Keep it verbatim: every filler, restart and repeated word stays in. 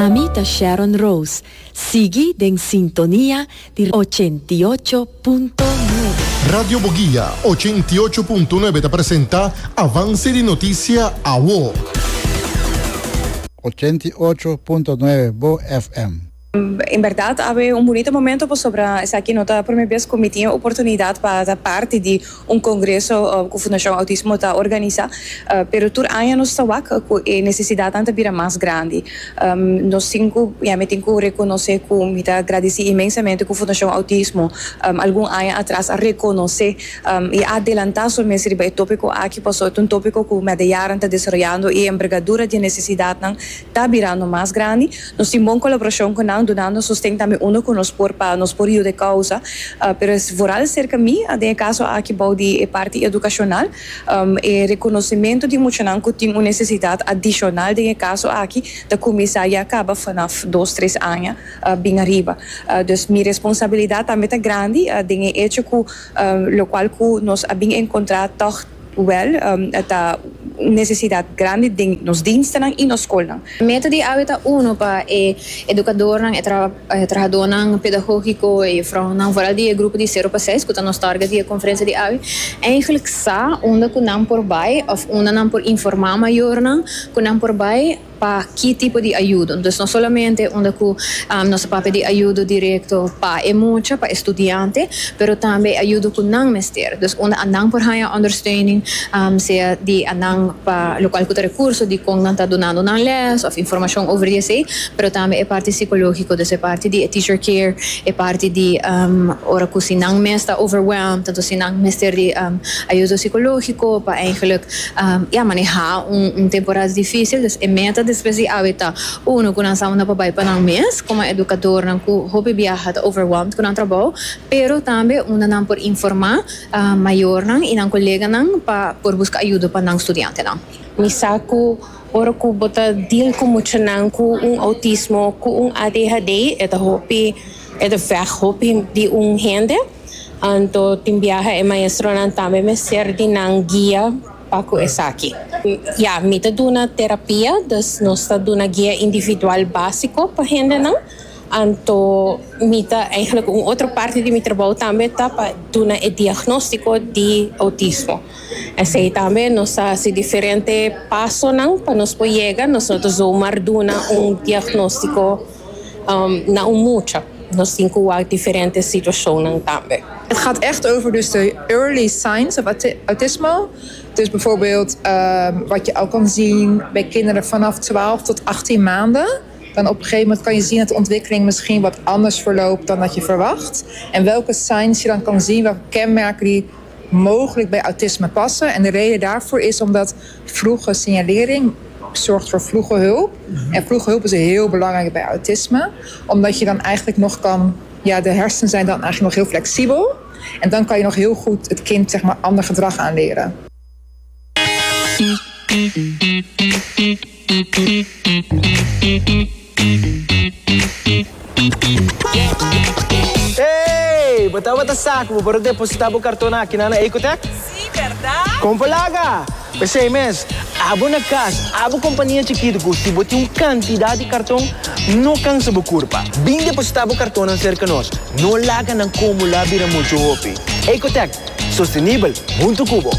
Ami ta Sharon Rose. Sigui den sintonia di ochenta i ocho punto nuebe. Radio Boguia ochenta i ocho punto nuebe ta presenta Avance di Noticia Awo. ochenta i ocho punto nuebe Bo F M. En berdad, ta un bunita momento pasobra esaki no ta e prome bes cu mi tin oportunidad pa ta parti di un congreso uh, cu Fundacion Autismo ta organisa, uh, pero tur aña nos ta wak cu e necesidad ta bira mas grandi. Um, nos tin cu, ja, mi tin cu reconoce cu mi ta gradici inmensamente cu Fundacion Autismo um, algun aña atras a reconoce um, y adelanta su mes riba e topico aki, pasobra ta un topico cu mei jaren ta desaroyando y envergadura di necesidad ta birando mas grandi. Nos tin bon colaboracion cu nan, dunando sosten tambe unda cu nos por pa nos por yuda causa, uh, pero vooral cerca mi, den caso aki bou di parti educacional, um, e reconocimento di muchanan cu tin un necesidad adicional den caso aki, ta cuminsa ya caba vanaf dos, tres aña uh, bin ariba. Uh, dus mi responsabilidad tambe ta grandi, uh, den hecho cu um, locual cu nos a bin encontra toch wel um, ta necesidad grandi den nos diensten y nos scol. Meta di awe ta uno pa e educadornan, e tra, e trahadornan pedagogico y vrouwnan, vooral di grupo di sero pa seis, cu ta nos target di conferencia di awe. Eigenlijk sa unda cu nan por bay of unda nan por informa mayornan cu nan por bay pa ki tipo di ayudo. Dus no solamente unda cu um, nos papia di ayudo directo pa e mucha, pa studiante, pero tambe ayudo cu nan mester. Dus unda nan por haya ondersteuning, um, sea di nan pa local cu recurso, di con nan ta dunando nan les, of informacion over di esey, pero tambe e parti psicologico, dus e parti di teacher care, e parti di um, ora cu si nan mes ta overwhelmed, tanto si nan mester di um, ayudo psicologico pa eigenlijk um, ja, maneha un, un temporada dificil. Dus e meta despues di awe ta uno cu nan sa unda pa bay pa nan mes como educador nan cu hopi biaha ta overwhelmed cu nan trabou, pero tambe unda nan por informa uh, mayornan y nan coleganan pa por busca ayudo pa nan studiantenan. Mi sa cu ora cu bo ta deal cu muchanan cu un autismo, cu un A D H D, e ta hopi, e ta verg hopi di un hende. Anto tin biaha e maestronan tambe mester di nan guia pa cu esaki. Ja, mi ta duna terapia, dus nos ta duna guia individual basico pa hendenan. Anto mi ta eigenlijk un otro parti di mi trabou tambe ta pa duna e diagnostico di autismo. Esey tambe nos ta haci diferente pasonan pa nos por yega, nos no zomaar duna un diagnostico um, na un mucha. Nos tin cu diferente situacionnan tambe. Het gaat echt over dus de early signs of autismo. Dus bijvoorbeeld um, wat je al kan zien bij kinderen vanaf twaalf tot achttien maanden. Dan op een gegeven moment kan je zien dat de ontwikkeling misschien wat anders verloopt dan dat je verwacht. En welke signs je dan kan zien, welke kenmerken die mogelijk bij autisme passen. En de reden daarvoor is omdat vroege signalering zorgt voor vroege hulp. En vroege hulp is heel belangrijk bij autisme. Omdat je dan eigenlijk nog kan... Ja, de hersenen zijn dan eigenlijk nog heel flexibel. En dan kan je nog heel goed het kind, zeg maar, ander gedrag aanleren. Hey, bo tabata sa cu bo por deposita bo carton aki na Ecotech? Si, berdad? Con por laga! Pesey mes, abo na cas, abo compania chikito cu si bo tin un cantidad di carton, no cansa bo curpa. Bin deposita bo carton cerca nos. No laga nan acumula bira mucho hopi. Ecotech, sostenibel, hunto cu bo.